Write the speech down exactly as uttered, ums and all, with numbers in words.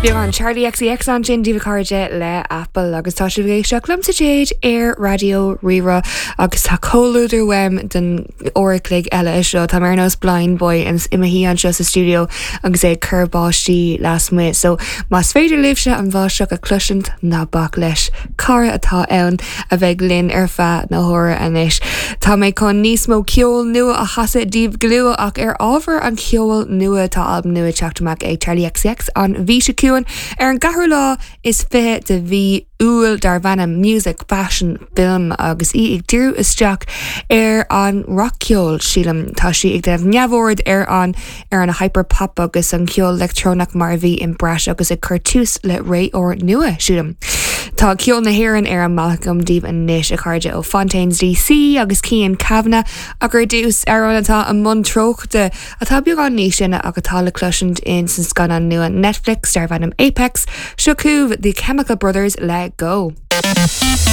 Beagán Charli XCX ansin daoibh a chairde le Apple agus tá sibh ag éisteacht liomsa Jade ar Raidió Rí-Rá agus tá comhluadar uaim don uair a chloig eile seo tá mé ar nós blind boy i mo shuí anseo sa studio agus é ag cur báistí lasmuigh so más féidir libhse an bháisteach a chloisint ná bac leis cara atá ann a bheidh linn ar feadh na huaire anois. Tá mé chun níos mó ceol nua a chasadh daoibh go luath ach ar ábhar an cheoil nua tá albam nua teacht amach ag Charli XCX an mhí seo chugainn ar an gceathrú lá is fiche de mhí Iúil darb ainm Music Fashion Film agus í ag díriú isteach ar an rac-cheol sílim tá sí ag déanamh neamhaird ar an ar an hyperpop agus an ceol leictreonach mar a bhí in breis agus ag cur tús le ré úr nua sílim. Tá ceol na hÉireann ar an mbealach daoibh anois a chairde ó Fontaines DC agus Cian Kavanagh ach ar dtús amhrán atá i mbun treochta atá beagán níos sine ach atá le cloisint in san scannán nua Netflix darb ainm Apex seo chugaibh the Chemical Brothers le go.